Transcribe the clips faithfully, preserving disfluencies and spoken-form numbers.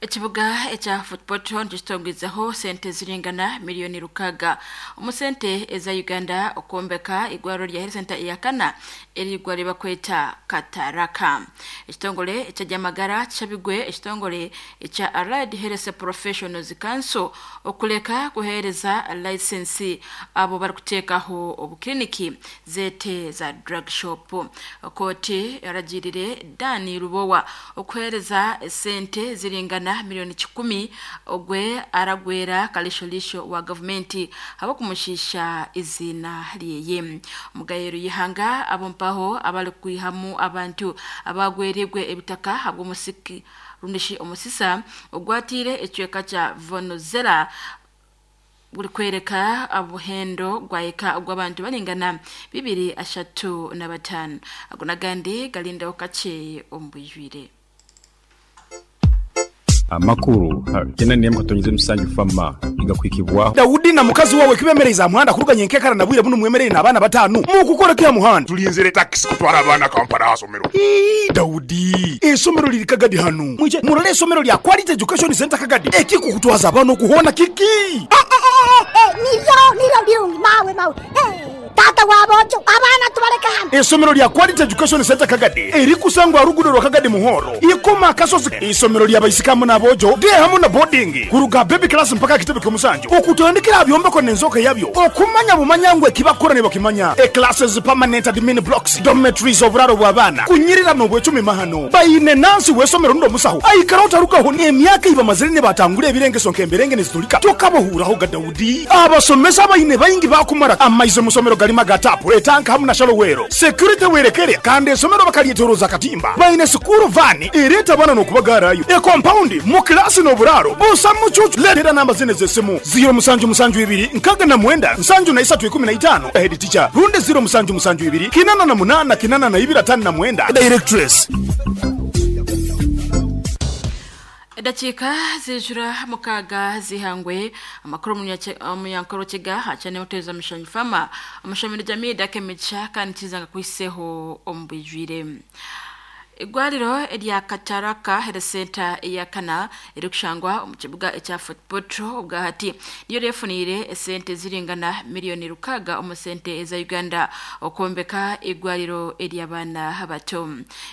Ekibuga ekya Fort Portal nikitongwizeho sente ziringana miliyoni rukaga omu sente eza Uganda okwombeka igwariro rya health center eyakana erigwa ribakweta Kataraka. Ekitongore eky'ebyamagara kishabigwe ekitongore ekya Allied Health Professionals Council okuleka kuheereza license abo barikuteekaho obukiriniki zeete za drug shop. Kooti eragirire Dan Lubowa okuheereza sente ziringana miliyoni kikumi ogwe aragwera kalisholisho wa gavumenti abakumushisha izina lyeye. Omugayero yihanga abompaho abali kwihamu abantu abagwerirwe ebitaka habw'omusiki rundishi omusisa ogwatire ekicweka kya Venezuela buri kwereka obuhendo gwayeka ogw'abantu baringana bibiri ashatu na bataano. Ago n'agandi galindaho kakye omu bwijwire. Amakuru tena niyemu katonyize musanju fama igakwikibwa Daudi na mukazi wawe kibemereza muhanda kuruganya enkekara na bwire buno mwemerere n'abaana batanu mukukora kya muhanda tulinzire taxi kutwara abaana Kampala asomero. Ii Daudi esomero liri Kagadi hanu mwije murole esomero lya Quality Education Center Kagadi ekikukutwaza abaana okuhona kiki niryo niryo birungi mawe mawe tata wabojo abaana tubaleka hano. Esomero lya Quality Education Center Kagadi erikusangwa rugudo rwa Kagadi Muhoro ikoma akasozi. Isomero lya baisikamu n'abojo de hamu na boarding kuruga baby class mpaka kitebe ky'omusanju okutandikira byombeko n'enzoka yabyo okumanya bumanyangwe kibakora ne bakimanya e classes permanent admin blocks dormitories oburaro bw'abaana kunyirira mu bwecumi mahano bayine nansi wesomero ndo musaho aikara utarukaho emyaka ibamazire ne batangule ebirengeso nkemberenge nezitulika tokabohuraho ga Daudi abasomesa bayine bayingi bakumara amaize musomero galima gatapu etanka hamu na shalowero security werekere kandi esomero bakalyeteroza katimba bayine sukuru vani ereta bana nokubagarayo e compound mu klasi n'oburaro busa mucucu letera namba zine z'esimu zero musanju musanju ibiri nkaga na mwenda nsanju na isatu ikumi na itano head teacher runde zero musanju musanju ibiri kinana na munana kinana na ibiri atano na mwenda directress. Dakika zijura mukaga zihangwe amakuru munyankoro kiga hacane muteza mishanyu fama amashamiro jamii dakemicha kandi kizanga kwiseho ombwijwire. Igwariro erya Kataraka Health Center eyakana erikushangwa omu kibuga ekya Fort Portal obwahati niyo refunire esente ziringana miliyoni rukaga omu sente eza Uganda okwombeka igwariro ery'abaana abato.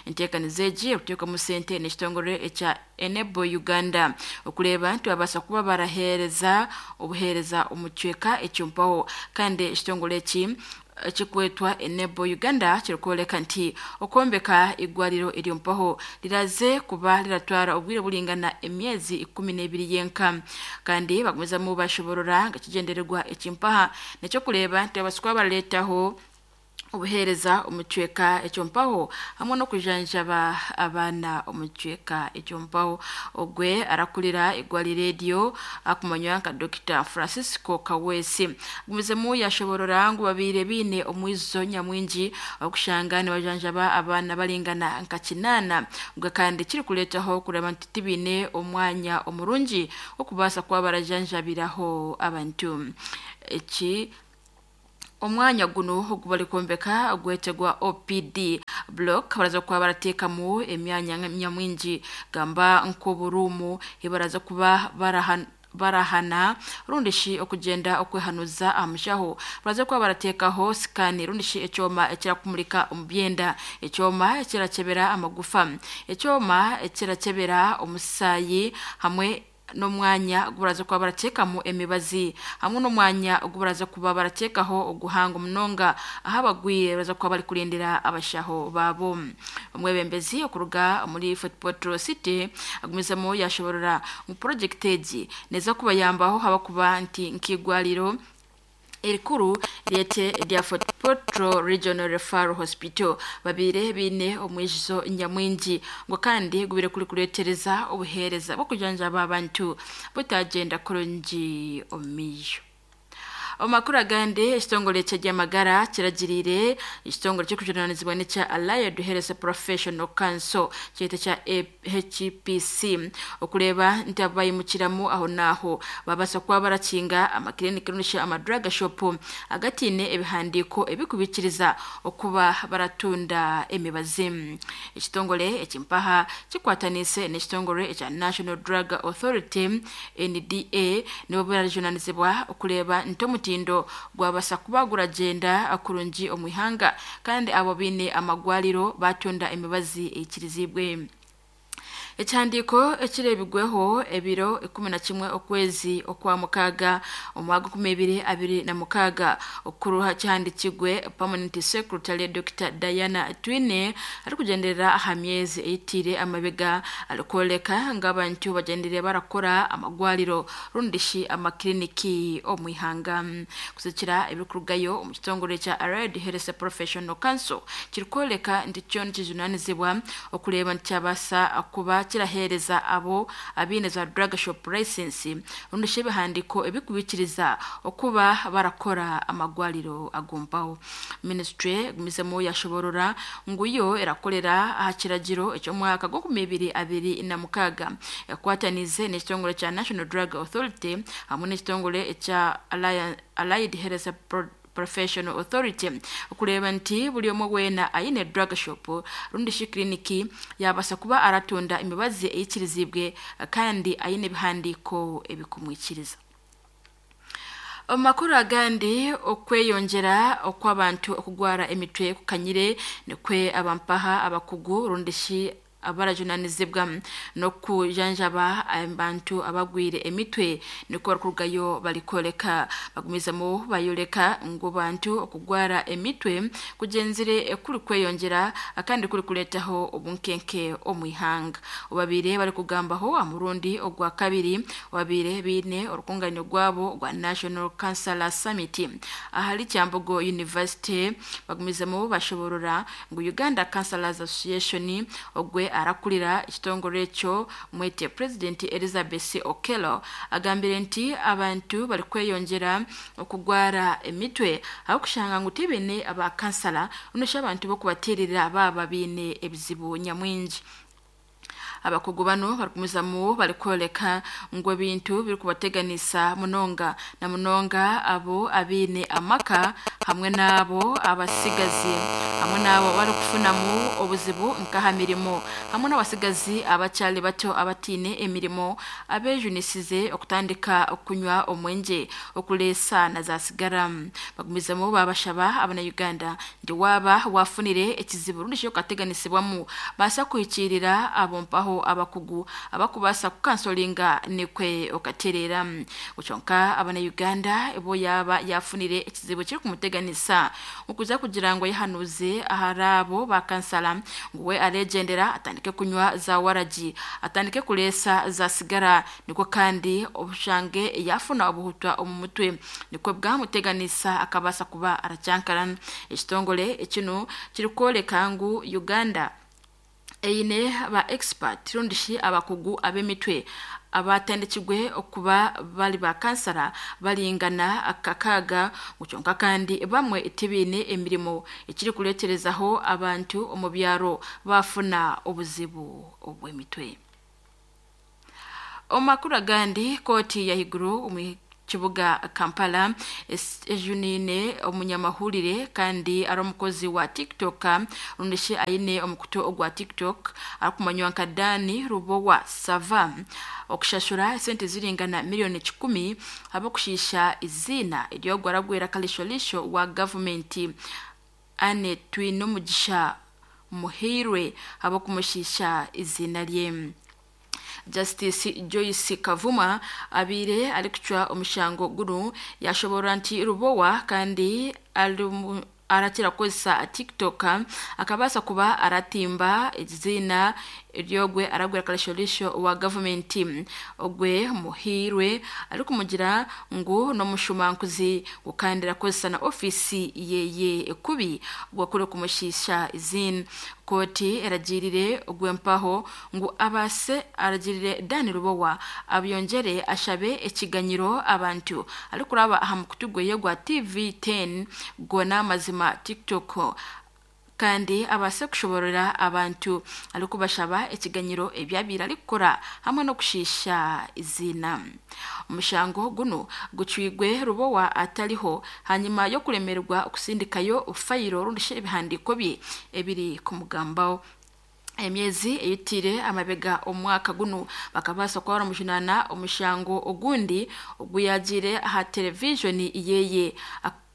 Enteekaniza egi erikuteekwa mu sente n'ekitongore ekya Enable Uganda okureba nti babasa kuba baraheereza obuheereza omu kicweka ekyompaho kandi ekitongore eki ekikwetwa Enable Uganda kirikwoleka nti okwombeka igwariro eryompaho liraze kuba liratwara obwire bulingana emyezi ikumi n'ebiri yenka kandi bagumizamu bashoborora nga kigendererwa ekimpaha nekyokureba nti babasa kuba baraleetaho obuheereza omu kicweka ekyompaho hamwe n'okujanjaba abaana omu kicweka ekyompaho. Ogwe arakurira igwariro eryo akumanywa nka Doctor Francisco Kawesi agumizemu yashoborora ngu babiire biine omwizo nyamwingi okushanga nibajanjaba abaana baringana nka kinaana gwe kandi kirikureetaho kureba nti tibiine omwanya omurungi okubaasa kuba barajanjabiraho abantu. Eki omwanya guno ogubali kwombeka gwetegwa O P D block baraza kuba barateekamu emyanya nyamwingi gamba nk'oburuumu ibaraza kuba barahan barahana rundishi okugenda okwehanuza amushaho baraza kuba barateekaho sikani rundishi ekyoma ekirakumulika omu byenda ekyoma ekirakebera amagufa ekyoma ekirakebera omusaayi hamwe n'omwanya gubaraza kuba barateekamu emibazi hamwe n'omwanya gubaraza kuba barateekaho oguhanga munonga aho abagwire baraza kuba bari kurindira abashaho babo. Omwebembezi okuruga muri Fort Portal City agumizemu yashoborora mu project egi neza kubayambaho haba kuba nti nk'igwariro erikuru ryete rya Fort Portal Regional Referral Hospital babire bine omwijizo nyamwingi ngo kandi gubire kuri kuretereza obuheereza bwo kujanjaba abantu butagenda kurungi omiyo. Omakuru agandi, ekitongole ky'ebyamagara kiragirire ekitongole ky'okujunanizibwa n'ekya Allied Health Professional Council kyete kya H P C okureba nti abayimukiramu aho naho babasa kuba barakinga amakiliniki runisha amadrug shop agatine ebihandiko ebikubikiriza okuba baratunda emibazi. Ekitongole ekimpaha kikwatanise n'ekitongole ekya National Drug Authority N D A nibo barajunanizibwa okureba nti omutindo gwabasa kuba guragenda kurungi omwihanga kandi abo bine amagwaliro batunda emibazi ekirizibwe. Ekihandiiko ekirebigweho ebiro ikumi na kimwe okwezi okwa mukaga omwaka kumi ebiri abiri na mukaga okuruha kihandikigwe Permanent Secretary Doctor Diana Twine arikugenderera aha myezi eyitire amabega arikwoleka ng'abantu bagenderere barakora amagwaliro rundishi amakiliniki omwihanga. Kusikira ebirikurugayo omu kitongole kya Allied Health Professional Council kirikwoleka nti kyo nikijunanizibwa okureeba nti kyabasa kuba kirahereza abo abine za drug shop license rundi ebihandiko ebikubikiriza okuba barakora amagwaliro agumpaho. Ministry gumizemo yashoborora nguyo erakolera aha kiragiro eky'omwaka gw'okumi ibiri abiri na mukaga yakwatanize n'ekitongole kya National Drug Authority hamwe n'ekitongole ekya Allied Health Professional Authority okureba nti buli omwe weena ayine drug shop rundi shi kliniki yabasa kuba aratunda emibazi eyikirizibwe kandi ayine ebihandiko ebikumwikiriza. Omakuru agandi, okweyongera okw'abantu okugwara emitwe kukanyire nikwe abampaha abakugu rundi shi abarajunanizibwa nokujanjaba abantu abagwire emitwe niko barukurugayo balikoleka bagumizamo bayoleka ngo bantu okugwara emitwe kugenzire kuri kweyongera akandi kuri kuletaho obunkenke omwihanga. Obabire bari kugambaho amurundi ogwa kabiri wabire bine orukunganyo gwabo gwa National Council Summit ahali Kyambogo University bagumizamo bashoborora ngo Uganda Councillors Association ogwe arakulira ekitongole ekyo mwete President Elizabeth Okello agambire nti abantu bari kweyongera okugwara emitwe aho kushanga ngu tibine abakansala unosha abantu bokubaterera baba bine ebizibu nyamwingi. Abakugu bano barikumizamu barikwoleka ngo ebintu birikubateganisa munonga na munonga abo abine amaka hamwe n'abo abasigazi hamwe n'abo barikufunamu obuzibu nkaha mirimo hamwe n'abasigazi abakyali bato abatine emirimo abejunisize okutandika okunywa omwenje okulesa na za sigara. Bagumizamu babashaba abana Uganda ndi waba wafunire ekizibu rundi sho kateganisibwamu basa kuhikirira abo mpaho abakugu abakubasa kukansolinga nikwe okaterera. Uchonka abana Uganda ebo yaba yafunire ekizibu kiri kumuteganisa ukuza kugira ngo yahanuze aharabo bakansala nguwe alegendera atandike kunywa za waraji atandike kulesa za sigara niko kandi obushange yafuna obuhutwa omumutwe niko bwamuteganisa akabasa kuba aracyankarana. Ekitongole ekino kirikwoleka ngu Uganda eine ba expert rundishi abakugu abemitwe abatandikigwe okuba bali ba kansara balingana akakaga gucyonka kandi bamwe itibine emirimo ekiri kuleterezaho abantu omu byaro bafuna obuzibu obw'emitwe. Omakuru agandi, koti ya higuru omu kibuga Kampala ejunine omunyamahurire kandi ari omukozi wa TikTok rundishi ayine omukuto ogwa TikTok arikumanywa nka Dani Rubowa Sava okushashura sente ziringana miliyoni kikumi abakushisha izina eryogwaragwera kalisholisho wa government ane twine omugisha muhirwe abakumushisha izina lye. Justice Joyce Kavuma abire alikuchwa omushango guru yashobora nti Rubowa kandi aratira kozesa TikTok akabasa kuba aratimba izina Eryogwe aragwera karishorisho wa gavumenti ogwe Muhirwe arikumugira ngu n'omushumankuzi gukandira kozesa na ofisi yeye ekubi gwakure kumushisha izin. Koti eragirire ogwempaho ngu abase aragirire Dani Rubowa abyongere ashabe ekiganyiro abantu arikuraba aha mukutu gweye gwa T V ten gona mazima TikTok kandi abase kushoborera abantu arikubashaba ekiganyiro ebyabira arikukora hamwe no kushisha izina. Omushango guno gucwigwe Rubowa atariho hanyuma yo kuremerwa okusindikayo fayiro rundishe ebihandiko bye ebiri kumugambaho. Emyezi eyitire amabega omwaka guno bakabasa kwa mujunana omushango ogundi oguyagire aha television yeye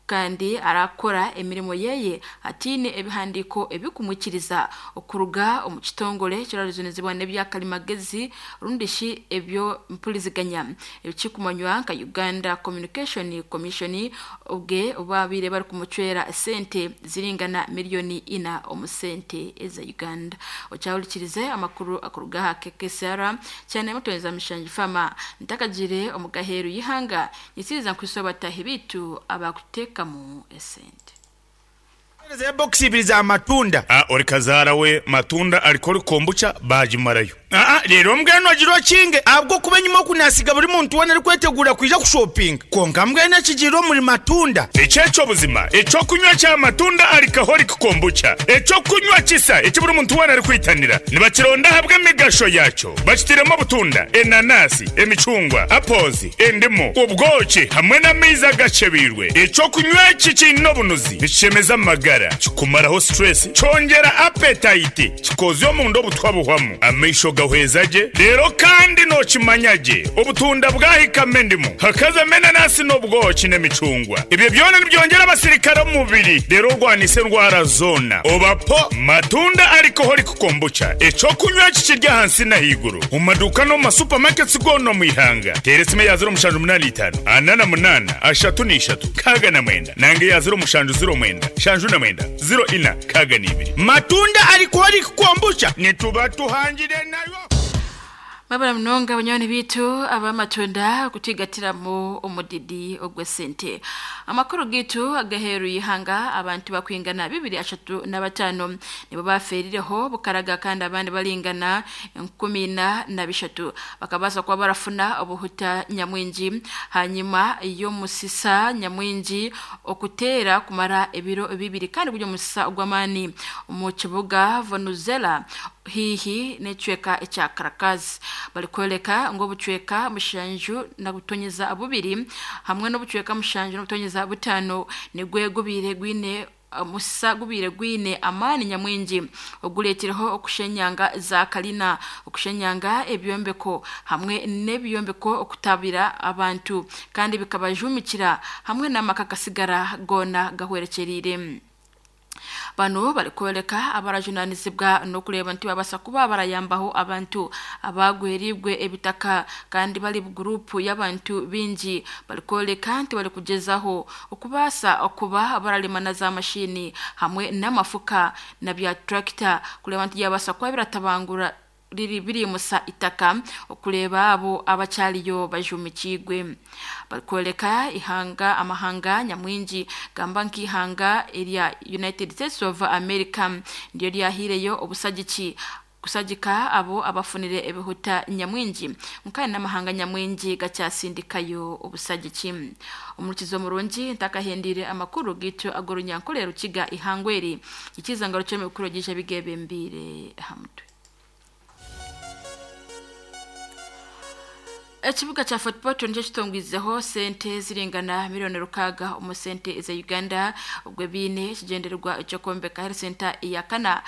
kandi arakora emirimo yeye atine ebihandiko ebikumwikiriza okuruga omu kitongole kiraruzunizibwa n'ebyakalimagezi rundishi ebyo mpuliziganya ebikikumanywa nka Uganda Communication Commission ubwe babire bari kumucwera sente ziringana miliyoni ina omusente eza Uganda. Ocyawulikirize amakuru akuruga ha K K S R cyane mutoneza Mishangi Fama ntakagire omugaheru yihanga nyisiriza nkwisobata hibitu abakuteka kamu esente. Ze box ibiri za matunda. Ah, ori kazara we matunda alikori kombucha bajimarayo. Ah, rero mbweno agiro kinge abwo kuba nyuma kunasiga buri muntu wana ari kwetegura kuja ku shopping. Konka mbweno kigiro muri matunda. Echecho buzima, echo kunywa cha matunda alikahori kombucha. Echo kunywa kisa, echo buri muntu wana ari kwitanira. Nibakironda habwe migasho yacho. Bakitiremo butunda, enanasi, emicungwa, apples, endimu, ubwoki hamwe n'amiza gacebirwe. Echo kunywa kikino bunuzi. Bishemeza amagara, kikumaraho stress, cyongera appetite, kikozyo mu ndo butwabuhwamu. Amaisho gahwezaje rero kandi no kimanyaje obutunda bwahikame ndimu hakaza menanasi n'ubwoki n'emicungwa. Ibyo byona nibyongera abasirikare mubiri rero rwanise ndwara zona obapo matunda alcoholic kombucha. Echo kunywa kikirya hansi na higuru mu maduka no ma supermarkets gono mu ihanga. Teresime ya zero mushanju munani itanu anana munana ashatu n'ishatu kaga na mwenda nange ya zero mushanju zero mwenda shanju na mwenda zero ina kaga n'ibiri. Matunda alcoholic kombucha nituba tuhangire nayo. Mabara mnonga banyoni bitu abamatunda kutigatiramo omudidi ogwe sente. Amakuru gitu agaheru yihanga abantu bakwingana bibiri ashatu na batano nibo baferireho bukaraga kandi abandi balingana nkumi na na bishatu bakabasa kwa barafuna obuhuta nyamwinji hanyuma iyo musisa nyamwinji okutera kumara ebiro bibiri kandi buryo musisa ogwamani mu kibuga Venezuela hihi nechweka echa Caracas balikoleka ngo bucweka mushanju na gutonyeza abubiri hamwe no bucweka mushanju no gutonyeza butano nigwe gubire gwine musa gubire gwine amani nyamwinji oguletereho okushenyanga za kalina okushenyanga ebyombeko hamwe n'ebyombeko okutabira abantu kandi bikabajumikira hamwe n'amakakasigara gona gahwerekerire. Bano balikoleka abarajunanizibwa no kureba nti babasa kuba barayambaho abantu abagweribwe ebitaka kandi bali group y'abantu bingi balikoleka nti bali kugezaho okubasa okuba baralimana za mashini hamwe n'amafuka na bya tractor kureba nti yabasa kuba biratabangura riri biri musa itaka okuleba abo abacyaliyo bajumikigwe. Balikoleka ihanga amahanga nyamwinji gamba nkihanga erya United States of America ndiyo lyahireyo obusagiki kusagika abo abafunire ebihuta nyamwinji mukana n'amahanga nyamwinji gacyasindikayo obusagiki. Umurukizo murungi ntakahendire amakuru gitu agorunyankolero kiga ihangweri ikizangaro cyo mikuru gije bigebembire hamutwe. Ekibuga cha Fort Portal nico kitongwizeho sente ziringana miliyoni rukaga omu sente za Uganda ubwo bine kigendererwa cyo kombeka health center ya kana.